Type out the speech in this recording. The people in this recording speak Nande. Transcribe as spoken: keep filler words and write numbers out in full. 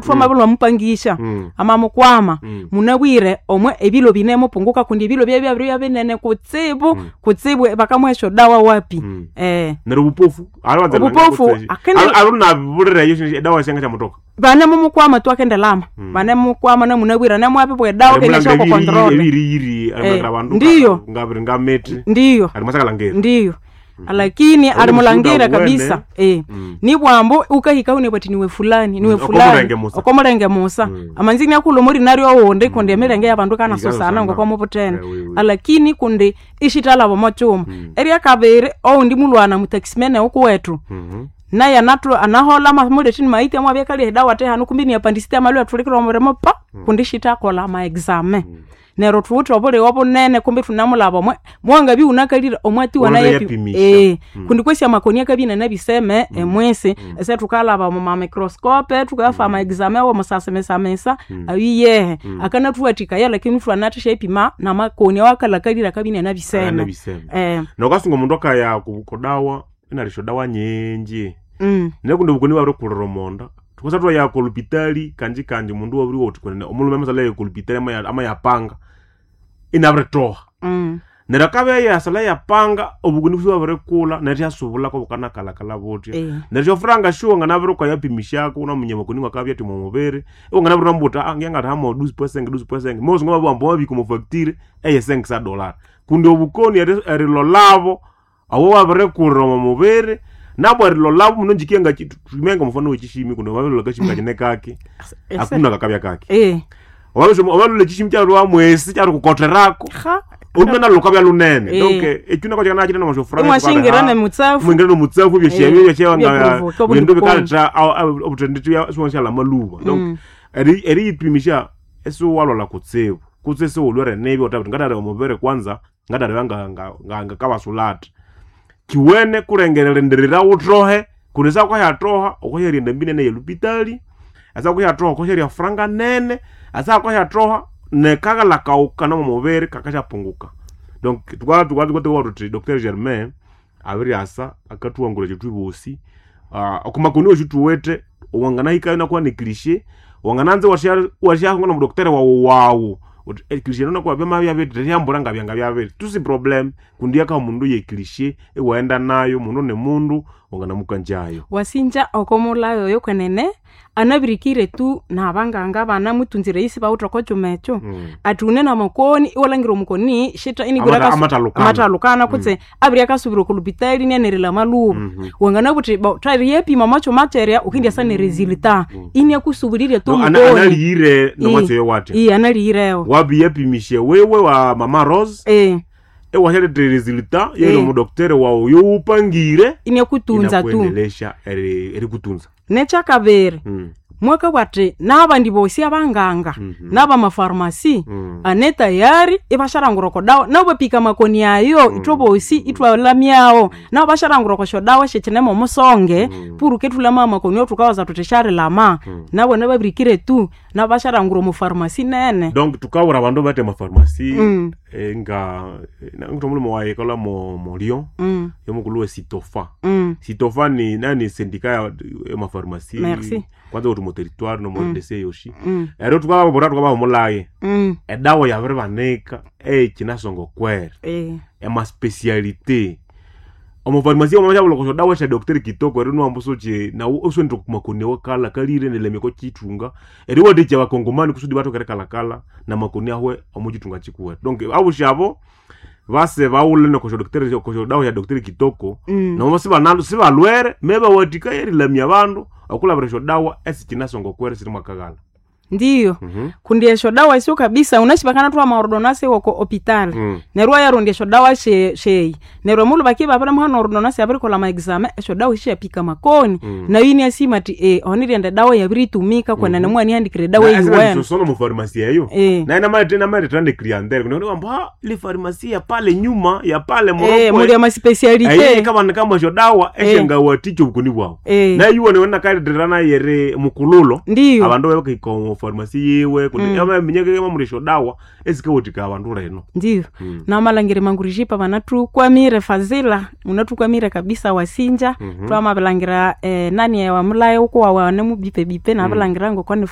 Twamabulwa mupangisha Mm. amamukwama Mm. munabwire omwe ebilo binemupunguka kundi ebilo bye byabiri binene kutsibu kutsibu bakamuha dawa wapi Mm. eh Neryo obupofu Obupofu, akende- alunabulirayo edawa syenga syamutoka bane mumukwama twakendelama bane mumukwama namunabwira namwabibwa edawa keneshako control ebiriyiri Eh, abandu ndiyo. ngabiri ngamiti ndiyo alimasakalangeri ndiyo lakini alimulangira mushuda kabisa eh Mm. ni bwambo ukahika une bati niwe fulani niwe Mm, fulani okomulenge musa. okomulenge musa Mm. amanzini akulo muri naryo wundi kundi emilenge yabandu kanasosana Ikanasosana. ngokomubutene Eh, oui, oui. alakini kundi ishitalabo mochuma erya kabiri oundi mulwana mutaximene ukuwetu naye anatu anahola mamuletini maiti amwe abyakalia edawa tehanu kumbi ni apandisite amalwe athulikira omurimo pa kundi shitakola ma exame neryo thuwithe obuligho bunene kumbi thunamulaba omwe mwangabi unakalire omwatiwa Wona naye yapimisha. eh kundi kwesi amakoni akabina nabiseme emwesi ese thukalaba mu mamicroscope thukafa ama exame awo musasemesamesa ayiyehe akanathuwathikaya lakini thwanathisha ipima namakoni awakalakalire akabina nabiseme Anabiseme. eh nokasunga omundu akaya ku- kudawa inalisho dawa nyinji mm nekundi obukoni bwabirikulira omonda thukosa twaya kolupitali kanji kanji omundu wabiri woti kwenene omulhume amasala kolupitali ama- amayapanga inabiritoha mm neryo akabya yasala yapanga obukoni busi bwabirikulha neryo syasubulako bukanakalakala butya Eh. neryo syofuranga shuwa nganabirikwa yapimishako unamunya makoni ngakabya ati mumubiri iwe nganabiri ah ngiangatha hamo duzi pwesenge duzi pwesenge mosi ngababwamba wabika omu factory eye senge sa dollar kundi obukoni eri- erilolabo awo wabirikulira omu mubiri nabo erilolabo muno njikienga tumenga mufano wekishimi kundi wabilola kashimi kachine kake Ese- akuna kakabya kake eh wabalola ekishimi kyalwa mwesi kyalikukoterako ha olumena lukabya lunene Eh. donc ekyo nako kyakanakine Imwashingira nemutsafu. mwingira nomutsafu Eh, byeshyabyo byeprovoke, obundi byeshyabindu bukoni. bikaletha obuthendi siwonshala maluba donc eri- eriyiphimisha esiwalwala kutsibu kutse esiwulwere nibi othabuthi ngathaleba omubiri kwanza ngathaleba ngakabasulata kiwene kulengererenderera wuthohe kundi sakuhyathoha okohyerya endambi nene yelupitali asakuhyathoha okohyerya franga nene asakuhyathoha nekaghala kawuka nomumubiri kakasyapunguka donc tukwa tuthi Dr Germain abiryasa akathuwangula kyethu bosi uh, okumakoni wethu tuwete wanganahikayo nakuwa ne cliché wangananze washyahunga nomudokiteri wawu wawu uthi eh, cliché nonakuwa byamabyabiri ryambura ngabyanga byabiri tusi problem kundi yakaha mundu ye cliché iwaenda nayo mundu ne mundu wanganamukanjayo wasinja okomulayo oyo kwenene anabirikire tu nabanganga banamutunzire isi bawutha okokyuma ekyo Mm. ati une namakoni iwalangira omukoni shita inibwira Amata- akasu- amatalukana. amatalukana kutse abiri akasubira okulupitali nianerela maluba wanganabuthi tari yepima makyuma kyerya ukindyasa neresulta iniakusubulirye tu No, ana- mukoni analiyire nomwatsi watya iye analiyirewo wabiyapimishe wewe wa mama Rose eh ewashaletha resulta yeri Eh. omudokiteri wawu yowupangire iniakutunza tu inakuendelesha eri- erikutunza nekyakabiri Mm. mwaka bwati nabandi bosi abanganga n'abamafarumasi Mm. ane tayari ibasharangura oko dawa nabo bapika makoni ayo ithwe bosi ithwalamyawo nabo basharangura oko syodawa syekinemo omusonge puruke thulama amakoni othukawaza thuthi syarilama nabo nababirikire tu nabo basharangura omu farumasi nene donc tukawura abandu bate amafarumasi Mm. eh, nga ngithu omulhume wayi ikolha mo mo Lyon Mm, yomukulhu we Sitofa mm, Sitofa ni nani sendika ya emafarumasi Merci. kwanza kuti mu territoire no mu R D C yoshi mm, ero tukababura tukabahumulaye mm. edawa yabiribanika eyikinasonga okwere Eh, emaspecialité omufarumasi omashabulokosha dawa sha Dr Kitoko eri niwamba soche nawu oswendire kumakoni wakala kalire nelemeko chitunga eri wathikya bakongomani kusudi batokere kalakala na makoni ahwe omu chitunga chikuwe donc abushabo base bawule nokosha Dr kosha dawa ya Dr Kitoko Mm. nabo sibanalo sibalwere mebawathika erilamya abandu okulabira esyo dawa esikinasonga okwere siri mwakaghala ndiyo Mhm. kundi esyo dawa esyo kabisa unashibakana thwa maordonase woko opitali Mm. neryo wayarondya esyo dawa she- sheyi neryo omulhu bakiba babirimuhana ordonase yabirikolha maexame esyo dawa esyo makoni Mm. nayo iniasima ati e onirienda dawa yabiritumika kwenene mwanihandikire edawa eyiwene sono mu farumasi eyo Eh. na inamaleta clientele kundi wamba "Ah, ile farumasi ya pale nyuma ya pale Eh, Morocco muli amaspecialité kabana kamwesyo dawa esyengawathikya obukoni bwawu Eh. nayo iwone wena kaleterera nayere mukululo ndiyo abandu bebakaika omu pharmacy yiwe kundi amaminyaka mamulisha dawa esikawathika abandu leno Ndiyo. Namalangira mangurijipa vanathukwamire fazila unathukwamire kabisa wasinja twamabilangira eh, nani wamulaye ukuwa wane mubipe bipe nabilangira ngoko ni